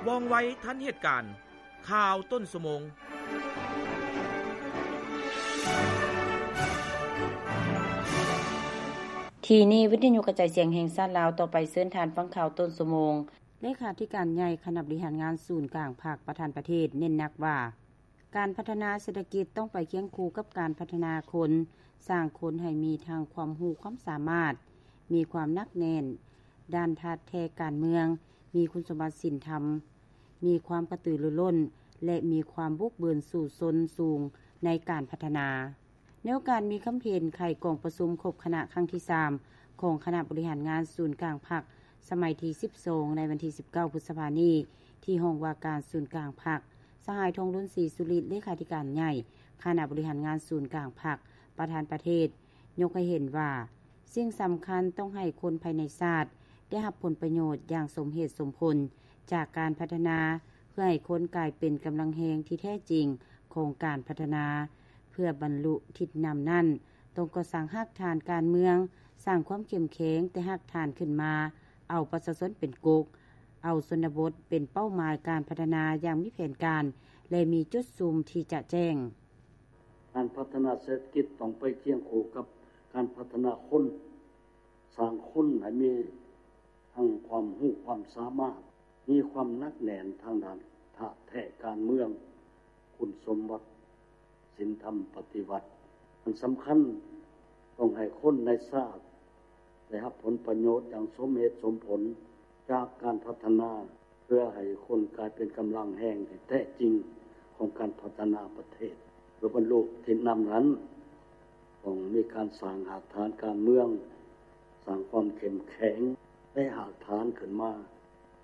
ວ່ອງໄວທັນເຫດການ. ຂ່າວຕົ້ນຊົ່ວໂມງ. ທີ່ນີ້ວິທະຍຸກະຈາຍສຽງແຫ່ງຊາດລາວ, ຕໍ່ໄປເຊີນທ່ານຟັງຂ່າວຕົ້ນຊົ່ວໂມງ. ເລຂາທິການໃຫຍ່ຄະນະບໍລິຫານງານສູນກາງພັກ ປະທານປະເທດ ເນັ້ນໜັກວ່າ ການພັດທະນາເສດຖະກິດຕ້ອງໄປຄຽງຄູ່ກັບການພັດທະນາຄົນ, ສ້າງຄົນໃຫ້ມີທັງຄວາມຮູ້ຄວາມສາມາດ, ມີຄວາມໜັກແໜ້ນດ້ານທາດແທ້ການເມືອງ, ມີຄຸນສົມບັດສິນທຳ, ມີຄວາມກະຕືລືລົ້ນ ແລະ ມີຄວາມບຸກບືນສູ້ຊົນສູງໃນການພັດທະນາ. ໃນໂອກາດມີຄຳເຫັນໄຂກອງປະຊຸມຄົບຄະນະຄັ້ງທີສາມ ຂອງຄະນະບໍລິຫານງານສູນກາງພັກ ສະໄໝທີສິບສອງ ໃນວັນທີສິບເກົ້າ ພຶດສະພານີ້ ທີ່ຫ້ອງວ່າການສູນກາງພັກ, ສະຫາຍ ທອງລຸນ ສີສຸລິດ ເລຂາທິການໃຫຍ່ຄະນະບໍລິຫານງານສູນກາງພັກ ປະທານປະເທດ ຍົກໃຫ້ເຫັນວ່າ ສິ່ງສຳຄັນຕ້ອງໃຫ້ຄົນພາຍໃນຊາດໄດ້ຮັບຜົນປະໂຫຍດຢ່າງສົມເຫດສົມຜົນຈາກການພັດທະນາ ເພື່ອໃຫ້ຄົນກາຍເປັນກຳລັງແຮງທີ່ແທ້ຈິງຂອງການພັດທະນາ. ເພື່ອບັນລຸທິດນຳນັ້ນ, ຕ້ອງກໍ່ສ້າງຮາກຖານການເມືອງ, ສ້າງຄວາມເຂັ້ມແຂງແຕ່ຮາກຖານຂຶ້ນມາ, ເອົາປະຊາຊົນເປັນກົກ, ເອົາຊົນນະບົດເປັນເປົ້າໝາຍການພັດທະນາຢ່າງມີແຜນການ ແລະ ມີຈຸດຊຸມທີ່ຈະແຈ້ງ. ການພັດທະນາເສດຖະກິດຕ້ອງໄປຄຽງຄູ່ກັບການພັດທະນາຄົນ, ສ້າງຄົນໃຫ້ມີທັງຄວາມຮູ້ຄວາມສາມາດ, ມີຄວາມໜັກແໜ້ນທາງດ້ານທາດແທ້ການເມືອງ, ຄຸນສົມບັດສິນທຳປະຕິວັດ. ອັນສຳຄັນ, ຕ້ອງໃຫ້ຄົນໃນຊາດໄດ້ຮັບຜົນປະໂຫຍດຢ່າງສົມເຫດສົມຜົນຈາກການພັດທະນາ, ເພື່ອໃຫ້ຄົນກາຍເປັນກຳລັງແຮງທີ່ແທ້ຈິງຂອງການພັດທະນາປະເທດ. ເພື່ອບັນລຸທິດນຳນັ້ນ, ຕ້ອງມີການສ້າງຮາກຖານການເມືອງ, ສ້າງຄວາມເຂັ້ມແຂງ ແລະ ຮາກຖານຂຶ້ນມາ,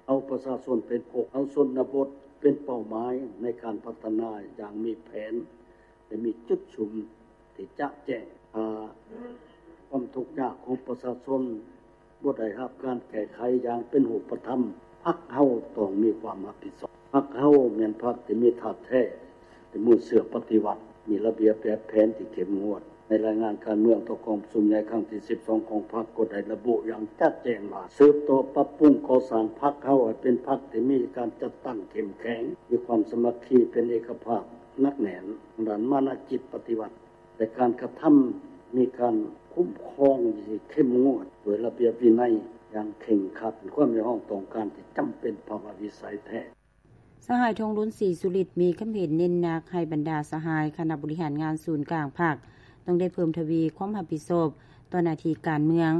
ເອົາປະຊາຊົນເປັນກົກ, ເອົາຊົນນະບົດເປັນເປົ້າໝາຍໃນການພັດທະນາຢ່າງມີແຜນ ແລະ ມີຈຸດຊຸມທີ່ຈະແຈ້ງ. ຖ້າຄວາມທຸກຍາກຂອງປະຊາຊົນບໍ່ໄດ້ຮັບການແກ້ໄຂຢ່າງເປັນຮູບປະທຳ, ພັກເຮົາຕ້ອງມີຄວາມຮັບຜິດຊອບ. ພັກເຮົາແມ່ນພັກທີ່ມີທາດແທ້, ເປັນມູນເຊື້ອປະຕິວັດ, ມີລະບຽບແບບແຜນທີ່ເຂັ້ມງວດ. ໃນລາຍງານການເມືອງຕໍ່ກອງປະຊຸມໃຫຍ່ຄັ້ງທີສິບສອງຂອງພັກກໍໄດ້ລະບຸຢ່າງຈະແຈ້ງວ່າ ສືບຕໍ່ປັບປຸງກໍ່ສ້າງພັກເຮົາໃຫ້ເປັນພັກທີ່ມີການຈັດຕັ້ງເຂັ້ມແຂງ, ມີຄວາມສາມັກຄີເປັນເອກະພາບໜັກແໜ້ນ, ທາງດ້ານມານະຈິດປະຕິວັດ ແລະ ການກະທຳມີການຄຸ້ມຄອງທີ່ເຂັ້ມງວດດ້ວຍລະບຽບວິໄນຢ່າງເຄັ່ງຄັດ, ເປັນຄວາມຮຽກຮ້ອງຕ້ອງການທີ່ຈຳເປັນພາວະວິໄສແທ້. ສະຫາຍ ທອງລຸນ ສີສຸລິດ ມີຄຳເຫັນເນັ້ນໜັກໃຫ້ບັນດາສະຫາຍຄະນະບໍລິຫານງານສູນກາງພັກ ຕ້ອງໄດ້ເພີ່ມທະວີຄວາມຮັບຜິດຊອບຕໍ່ໜ້າທີ່ການເມືອງ,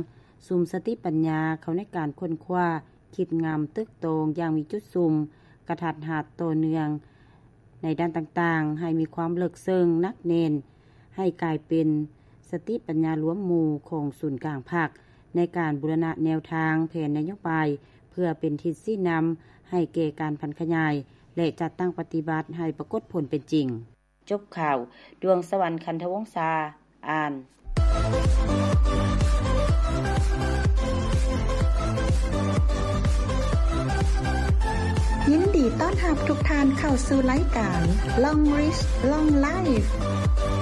ສຸມສະຕິປັນຍາເຂົ້າໃນການຄົ້ນຄວ້າ, ຄິດງຳ, ຕຶກຕອງຢ່າງມີຈຸດຊຸມ, ກະທັດຮັດ, ຕໍ່ເນື່ອງໃນດ້ານຕ່າງໆ, ໃຫ້ມີຄວາມເລິກເຊິ່ງ, ໜັກແໜ້ນ, ໃຫ້ກາຍເປັນສະຕິປັນຍາລວມໝູ່ຂອງສູນກາງພັກ ໃນການບູລະນະແນວທາງແຜນນະໂຍບາຍ ເພື່ອເປັນທິດຊີ້ນຳໃຫ້ແກ່ການຜັນຂະຫຍາຍ ແລະ ຈັດຕັ້ງປະຕິບັດໃຫ້ປາກົດຜົນເປັນຈິງ. ຈົບຂ່າວ, ດວງສະຫວັນ ຄັນທະວົງສາ ອ່ານ. ຍິນດີຕ້ອນຮັບທຸກທ່ານເຂົ້າສູ່ລາຍການ Long Reach Long Life.